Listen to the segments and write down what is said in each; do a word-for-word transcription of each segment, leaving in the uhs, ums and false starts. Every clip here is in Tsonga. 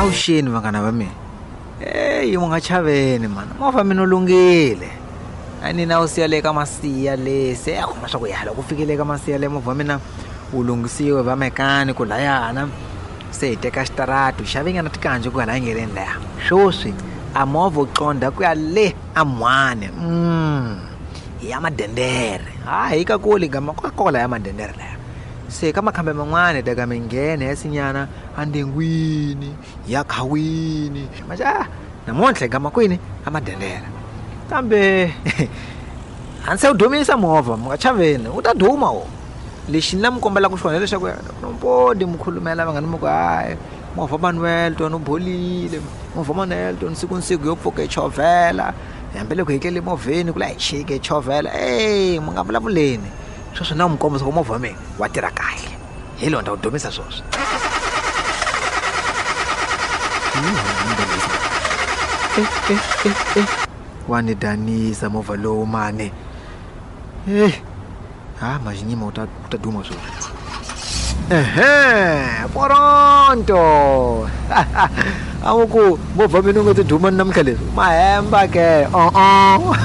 Avuxeni vanghana va mina. Eyi mu nga chaveni mana, movha mina wu lunghile. A ni na wu siya le ka Masiya le, se a kuma swa ku ya loko u fikile ka Masiya le movha wa mina wu lunghisiwe va mechanic layana. Se hi teka xitaratu hi xave nyana tikanji ku hala endleleni laya. Sweswi a movha wu qondha ku ya le a Mhani. Mm. Hi ya Madendere. Hayi hi ka kule gama ko la ya Madendere laya. Se ka makhambe man'wana hi teka minghena ya sinyana andengwini ya khawini. Maja namuntlha hi gama kwini a Madendere. Kambe a ndzi se wu dumisa movha, mi nga chaveni, wu ta duma wo. Lexi ni la mi kombelaka xona hileswaku nompodi mi khulumela vanghana mi ku hayi movha Manuel tona wu bolile, movha Manuel tona siku ni siku yo pfuka hi chovhela, hambiloko hi tlele movheni ku la hi chike hi chovhela. Ey mi nga vulavuleni sweswo na mi kombisa ku movha wa mina wa tirha kahle. Hi lowu ni ta wu dumisa sweswi. Eh eh eh eh wa ni danisa movha lowu mani. Eh ha majinyima wu ta wu ta duma sweswi. Ehe poronto. A wu ku movha mina wu nga ti duma namuntlha leswi mahemba ke o-o.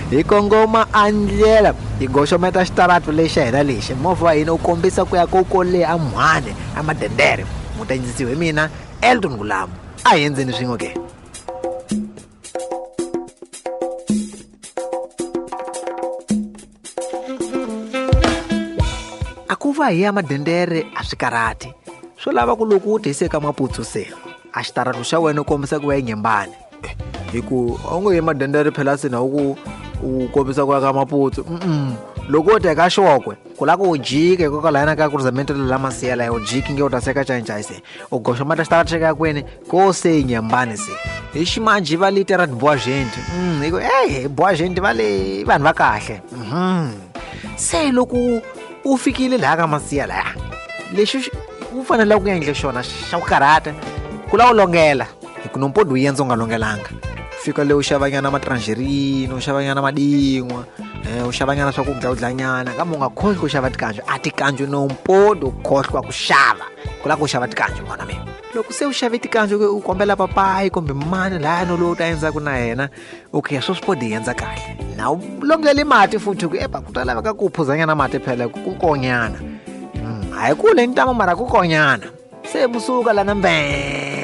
Hi kongoma a ndlela hi goxometa xitaratu lexi xa hina lexi movha wa hina wu kombisa ku ya ko ko le a Mhani a Madendere. Mu ta yindzisiwa hi mina Elton Gulamu. A hi endzeni swin'we ke. A ku va hi ya Madendere a swi karhati, swo lava ku loko u tise ka Maputsu se a xitaratu xa wena u kombisa ku ya eNyembani. Hi ku a wu nge yi Madendere phela se na wu ku u kombisa ku ya ka Maputsu. Mm-mm. Loko wo teka xokwe ku lava ku u jika hikokwalaho ka ku rizamento la Masiya laya u jiki nge u ta seka Ncayincayi se u goxomata xitaratu xa ka kwini ko se Nyembani se hi ximanjhe va le tera boa gente. Mm, hi ku ey boa gente va le vanhu va kahle. Mhm. Se loko u fikile laha ka Masiya laya lexi u fanele ku endla xona xa ku karhata ku lava u longela hi ku nompodi wu endza u nga longelanga. Fika le u xavanyana matrangerine, u xavanyana madin'wa, eh u xavanyana swa ku dlawudlanyana, kambe u nga khohlwi ku xava tikanju. A tikanju nompodi u khohlwa ku xava, ku lava ku xava tikanju n'wana mina. Loko se u xave tikanju u kombela papayi kumbe mani laya no lowu u ta endzaka na yena, okay sweswi podi hi endza kahle. Na u longele mati futhi ku epa ku ta laveka ku phuzanyana mati phela ku konyana. Mm, a hi kule ntamu mara ku konyana. Se musuka lana mbee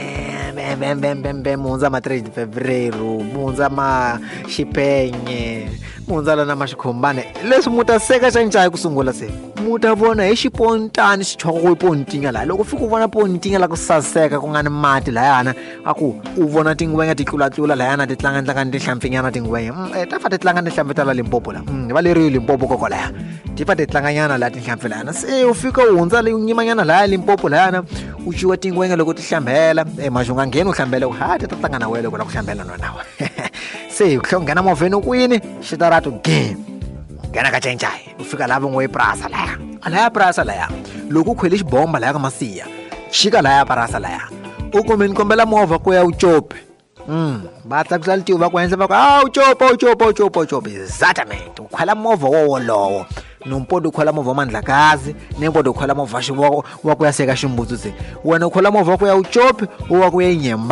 bem bem bem bem mu hundza ma three Fevereiro, mu hundza ma Xipenye, mu hundza lana ma Xikhombane. Leswi mu ta seka Ncayincayi ku sungula se mu ta vona hi xipontani xichoko ku pontinya laha. Loko u fika u vona pontinya la ku saseka ku nga ni mati layana, a ku u vona tingwenya ti tlulatlula layana ti tlanga-tlanga ni tinhlampfinyana tingwenya. Mm, ta fa ti tlanga ni tinhlampfi ta la Limpopo la. Mm, va le ri Limpopo koko laya. Ti fa ti tlanganyana laha tinhlampfi layana. Se u fika u hundza le u nyimanyana laya Limpopo layana, u ciwa tingwenya loko ti hlambela. Eh maxi u nga ngheni u hlambela ku ha ti ta tlanga na wena loko u lava ku hlambela na wena. Se u tlhela u nghena movheni kwini xitaratu game. Nghena ka Ncayincayi u fika laha va ngo i purasa laya. A laya purasa laya loko u khwele xibomba laya ka Masiya, xika laya purasa laya u kumbe ni kombela movha ku ya u cope. Mm, va tlakusa litiho va ku henhla va ku a u copa u copa u copa u copa. Exactamente u khwela movha wo wolowo. Nompodi u khwela movha wa Mandlakazi, Nempodi u khwela movha wa wa ku ya seka Ximbutsu se. Wena u khwela movha wa ku ya u cope, u wa ku ya eNyembani.